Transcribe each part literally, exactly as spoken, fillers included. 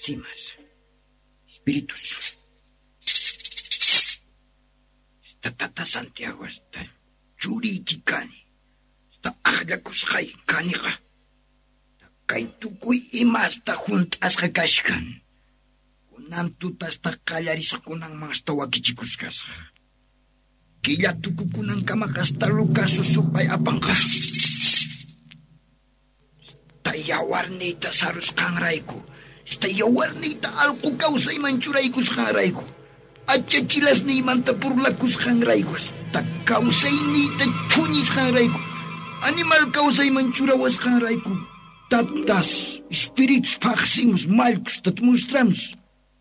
Simas, espíritus. Esta tata Santiago, hasta churiyki kani, hasta ajllakusqayki kaniqa. Kay tukuy imasta junt'asqa kashkan. Kunan tuta hasta qallarisqakunanman hasta wakichikusqasaq. Killa tukukunankamaqa hasta Lucas supay apanqa. Hasta yawarniyta sarusqanrayku, hasta yawarniyta allqu kawsayman churaykusqanrayku, achachilasniymanta burlakusqanrayku, hasta kawsayniyta thuñisqanrayku, animal kawsayman churawasqanrayku, tatas, espíritus phaqsimus, mallkus, mostramos,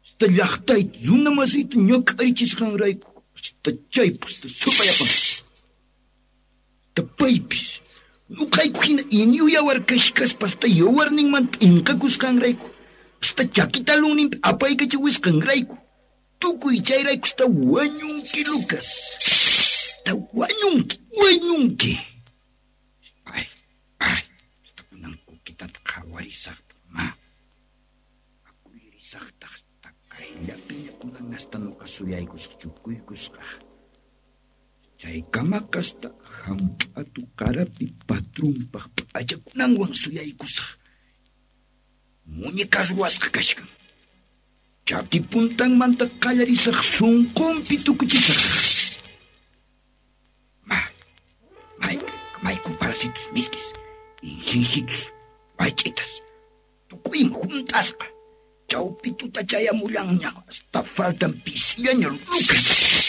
hasta llaqtayta, runa masiyta ñak'arichisqanrayku, hasta chaypaq, hasta supay apanqa. Hasta paypis, nuqayku hina inyu yawar kashkaspa hasta yawarninmanta p'inqakusqanrayku, hasta chaki talunninpi apaykachawisqanrayku, tukuy chayrayku hasta wañunki, Lucas. Hasta wañunki, wañunki. Ay, ay, hasta kunan kukitata qhawarisaqta, ma. Akulirisaqtaq hasta kayllapiña kunan hasta nuqa suyaykusaq chukuykusqa. Chaykamaqa hasta hamp'atu qarapi patrunpaq p'achakunanwan suyaykusaq. Muñecas ruwasqa kashkan. Chaki puntanmanta qallarisaq sunqunpi tukuchisaq. Ma, may, mayku parasitos miskis, insinsitos, waych'itas, tukuyma junt'asqa. Chawpi tuta chayamullanña, hasta faltan pisillaña Lucas.